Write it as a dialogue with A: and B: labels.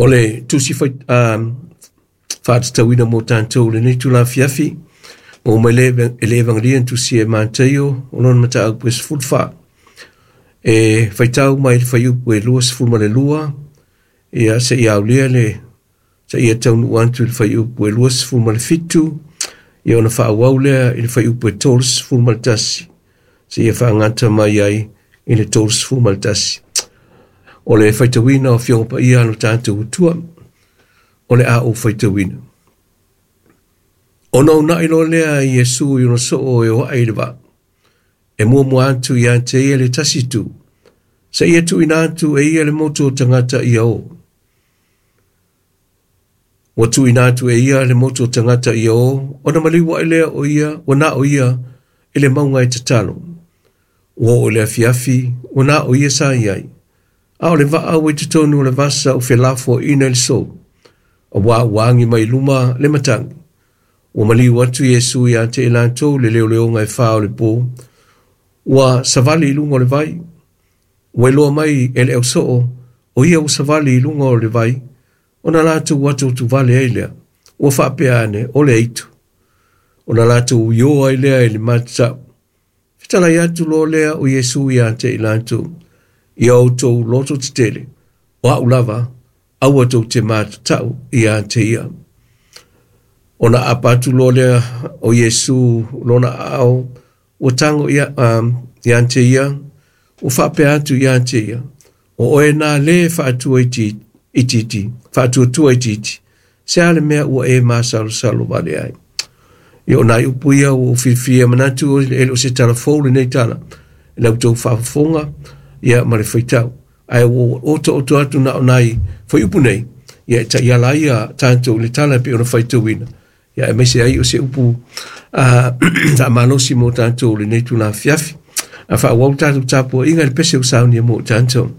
A: O le tusi faatatauina mo tatou i lenei itula afiafi, maua mai i le Evagelia na tusia e Mataio, o lona mataupu e 14. E faitau mai le fuaiupu e 22, ia seia aulia le seia taunuu atu i le fuaiupu e 27, ia ona faaauau lea i le fuaiupu e 31, seia faagata mai ai i le 31. O le faitauina o Afioga Paia a lo tatou Atua, o le a ou faitauina. Ona uunai loa lea e Iesu i ona soo e o ae i le vaa, e muamua atu ia te ia le tasi itu, seia tuuina atu e ia le motu o tagata ia o. Ua tuuina atu e ia le motu o tagata ia o, ona maliu ae lea o ia, ua na o ia i le mauga e tatalo. Ua oo i le afiafi, ua na o ia sa i ai. A o le vaa ua i totonu o le vasa ua felafoaiina i le sou, auā ua agi mai luma le matagi. Ua maliu atu Iesu ia te i latou i le leoleoga e fa o le po, ua savali i luga o le vai. Ua iloa mai e le ausoo, o ia ua savali i luga o le vai, ona latou atuatuvale ai lea, ua faapea ane, o le aitu. Ona latou uio ai lea i le matatau. Fetalai atu loa lea o Iesu ia te i latou, ia outou loto tetele, o au lava, aua tou te matatau ia te ia. Ona aapa atu loa lea o Iesu lona aao, ua tago ia, ia te ia, ua faapea atu ia te ia, o oe nā lē faatua itiiti, faatuatua itiiti, se a le mea ua e masalosalo vale ai. Ia o nai upu ia ua ou filifilia manatu e le o se tala fou lenei tala i la outou faafofoga ia ma le faitau. Ae ua ou otooto atu na o nai fuaiupu nei, ia e taiala ai ia tatou i le tala e pei ona faitauina. Ia aemaise ai o se upu faamalosi mo tatou i lenei itula afiafi. A faaauau tatou tapuaiga i le pese ua saunia mo tatou.